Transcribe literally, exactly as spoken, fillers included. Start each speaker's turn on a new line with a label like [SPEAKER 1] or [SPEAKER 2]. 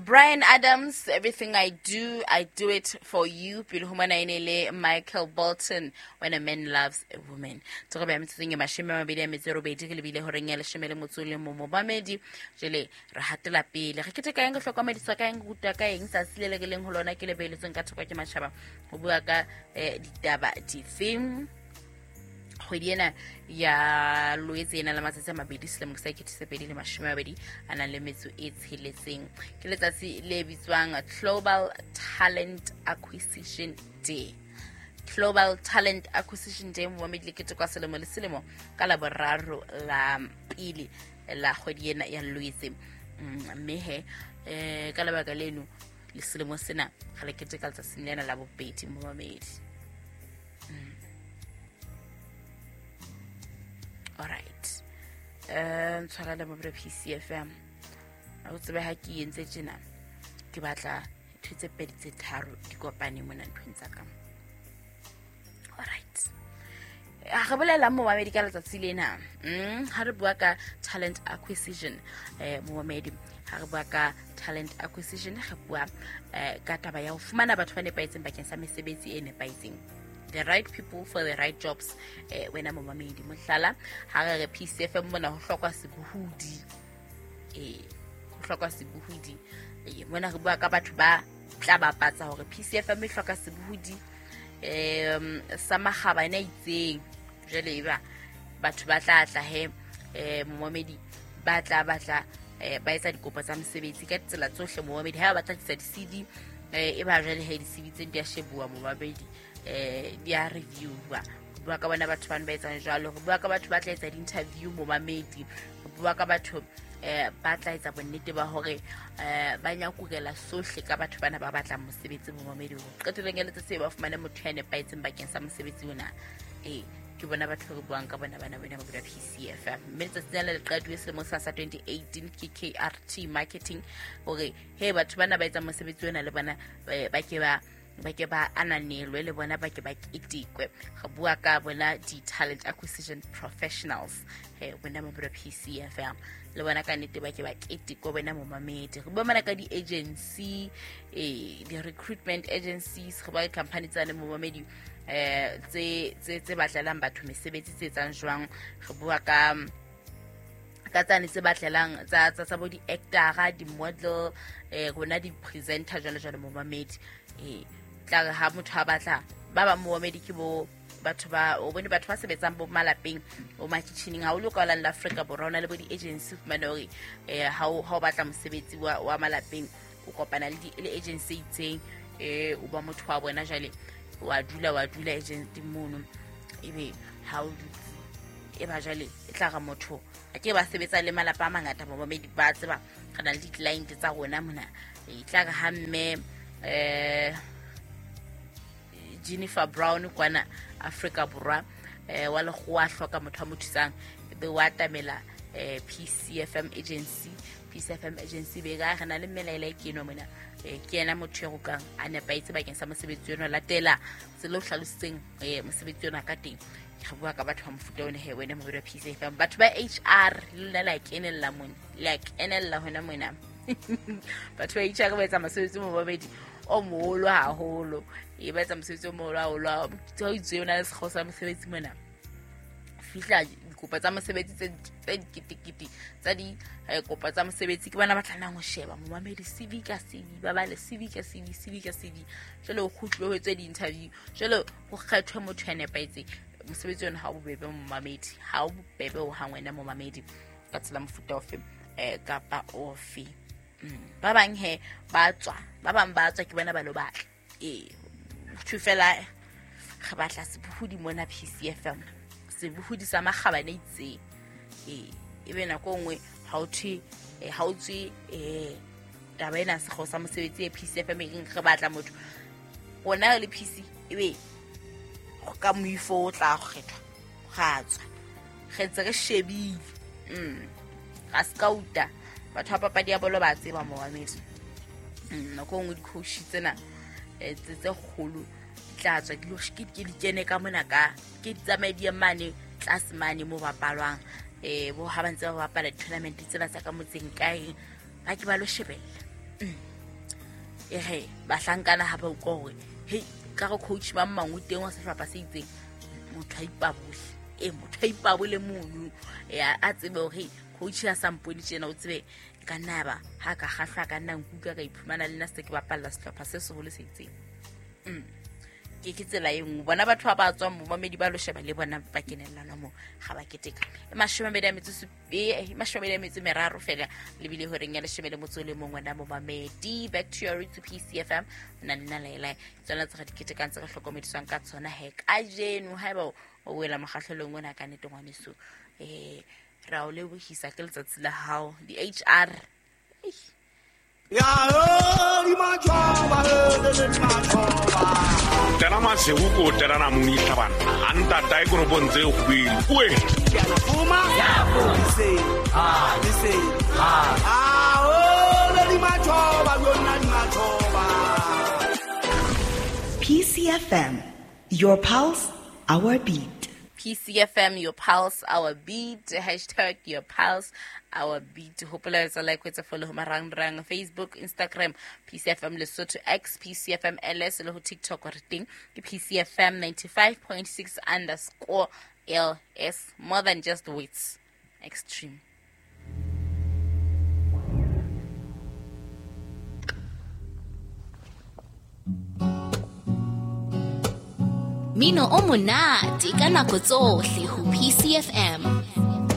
[SPEAKER 1] Bryan Adams, "Everything I Do, I Do It For You." Pele ho mona e ne le Michael Bolton, "When a Man Loves a Woman." Tsogo ba metsotsong e mashome a mabedi a metso e robedi re lebile horeng ya leshome le motso o le mong momamedi. Jwale re hatela pele. Re keteka eng, re hlokomediswa ka eng, re rutwa ka eng tsatsi le le re leng ho lona ke le beheletsweng ka thoko ke matjhaba ho bua ka eh, ditaba difeng. Kgwedi ena ya Loetse ena le matsatsi a mabedi selemo sa sekete se pedi le mashome a mabedi a nang le metso e tsheletseng ke letsatsi le bitswang Global Talent Acquisition Day. Global Talent Acquisition Day, momamedi, le ketekwa selemo le selemo ka Laboraro la pele la kgwedi ena ya Loetse. Mm, mme he um ka lebaka leno le selemo sena ga le keteka letsatsing lena la bobedi, momamedi. Alright, um tshwarela mo P C F M a o tsebe ha ke entse tjena ke batla ntho tse pedi tse tharo di kopane mona nthong tsa ka. Alright, a re bolela, momamedi, ka letsatsi lena. mm, ha re bua ka talent acquisition, eh momamedi, ha re bua ka talent acquisition re bua eh, ka taba ya ho fumana batho ba nepahetseng bakeng sa mesebetsi e nepahetseng, the right people for the right jobs. eh wena momamedi, mohlala ha re re P C F M mona ho hlokwa sebohodi, eh ho hlokwa sebohodi. eh mona re bua ka batho ba tla bapatsa hore P C F M e hloka sebohodi um sa makgabane a itseng. Jwale eba batho ba tla tla he, um momamedi, ba tla batla eh, ba etsa dikopo tsa mosebetsi ka ditsela tsohle, momamedi. Ha ba batla tlisa di-C V, eh, e ba jwale he di-C V tse di a shebuwa, momamedi, eh di a reviewa. Re bua ka bona batho bano ba etsang jwalo. Re bua ka batho ba tla etsa di-interview, momamedi. Re bua ka batho eh ba tla etsa bonnete ba hore eh ba nyakurela sohle ka batho bana ba batlang mosebetsi, momamedi, hore qetellong ya letsatsi ba fumane motho ya nepahetseng bakeng sa mosebetsi ona. Ee, ke bona batho re buang ka bona bana bana ba P C F. Mme letsatsi lena le qaduwe selemong sa sa twenty eighteen ke K R T Marketing hore he batho bana ba etsang mosebetsi ona le bona eh, ba ke ba ba ke ba ananelwe, le bona ba ke ba ketekwe. Re bua ka bona di-talent acquisition professionals he bona mabelo P C F M, le bona ka nnete ba ke ba ketekwe, bona momamedi. Re bua mana ka di-agency, eh, di-recruitment agencies. Re bua ka company tsane, momamedi, eh tse tse tse batlelang batho mesebetsi, tse etsang jwang. Re bua ka ka tsane tse batlelang tsa tsa tsa bo di-actora, di-model, eh rona di-presenter, jwalo jwalo, momamedi. eh tla re ha motho a batla ba bang, momamedi, ke bo batho ba o bone batho ba sebetsang bo malapeng, bo makitjhining haholo ka la Afrika Borwa. O na le bo di-agency, fumane hore eh ha o ha o batla mosebetsi wa, wa malapeng, o kopana le di- le agency e itseng, eh o ba motho wa bona. Jwale wa dula wa dula agent mono, ebe ha o dutse e ba jwale e tla re motho a ke ba sebetsa le malapa a mangata, momamedi, ba tseba re na le di-client tsa rona mona. E tla re ha mme eh Jennifer Brown kwana Afrika Borwa eh wa lekgowa a hloka motho a mo thusang, ebe wa atamela eh P C F M agency. P C F M agency be ka re na le mmelaela e ke eno mona, eh ke yena motho e rokang a nepahetse bakeng sa mosebetsi ono, latela tsela o hlalositseng eh mosebetsi ona ka teng. Re bua ka batho ba mofuta one he, wena mobedi wa P C F M. Batho ba H R le lona le a kenella mona, le a kenella hona mona. Batho ba H R ba etsa mosebetsi o mobedi o moholo haholo, e ba etsa mosebetsi o moholo haholo. Ha o itse o na le sekgeo sa mosebetsi mona, fihla dikopo tsa mosebetsi tse tse diketekete tsa di eh, kopo tsa mosebetsi, ke bona ba tlamehang ho sheba, momamedi, C V ka C V, ba bale C V ka C V, C V ka C V. Jwale ho kgutlwe ho etswe di-interview, jwale ho kgethwe motho ya nepahetseng. Mosebetsi ona ha o bobebe, momamedi, ha o bobebe ho hang, wena momamedi, ka tsela mofuta ofe eh, kapa ofe. Mm. ba bang he ba tswa, ba bang ba tswa ke bona ba lo batla. Ee, thwe fela re batla sebohodi mona P C F M, sebohodi sa makgabane itseng. Ee, ebe nako e nngwe ha o thwe eh, ha o tswe um taba ena sekgeo sa mosebetsi e P C F M e reng re batla motho rona re le P C, ebe ka moifo o tla kgethwa ra tswa re ntse re shebile. mm. Ra scouta batho ba papadi ya bolo, ba tseba, momamedi. Mm, nako e nngwe di-coach tsena eh, tse tse kgolo di tla tswa di lo ke ke di kene ka mona, ka ke di tsamaye di ye mane tlase mane mo bapalwang, um bo ha ba ntse ba bapala di-tournament tsena tsa ka motseng kae, ba ke ba lo shebella. Mm. E re bahlankana ha ba utlwa hore hei ka re coach mang mang o teng wa sehlopha se itseng, motho a ipabole. E motho a ipabole mono ya a tsebe hore coach ya sa mpone tjena o tsebe ka nna ba ha ka kgahlwa ka nna nkuka ka iphumana le nna se ke bapalla sehlopha se seholo se itseng. Mm. Ke ke tsela e nngwe bona batho ba ba tswang momamedi ba lo sheba le bona ba kenellana mo ga ba keteka. E mashome a mabedi a metso e mashome a mabedi a metso meraro fela le bile horeng ya leshome le motso le mongwe na momamedi. Back to your roots P C F M na le nna Laila tsona tse re di ketekang tse re hlokomediswang ka tsona he kajeno haeba o wela mokgahlelong ona ka nnete ngwaneso eh ra o lebohisa ke letsatsi la hao di H R.
[SPEAKER 2] Ya di machoba le machoba
[SPEAKER 3] tena masego ko tena na moni tlhabana a ntata e koropong tse kgwele oe
[SPEAKER 2] fuma se ha se ha a o le di machoba yona di machoba.
[SPEAKER 4] P C F M, your pulse, our beat.
[SPEAKER 1] P C F M, your pulse, our beat. Hashtag your pulse, our beat. Hopola etsa like, etsa follow ho marangrang Facebook, Instagram, P C F M Lesotho, X, P C F M L S, le ho TikTok re teng ke P C F M ninety-five point six underscore L S. More than just words. Extreme.
[SPEAKER 5] Mino o monate ka nako tsohle ho P C F M.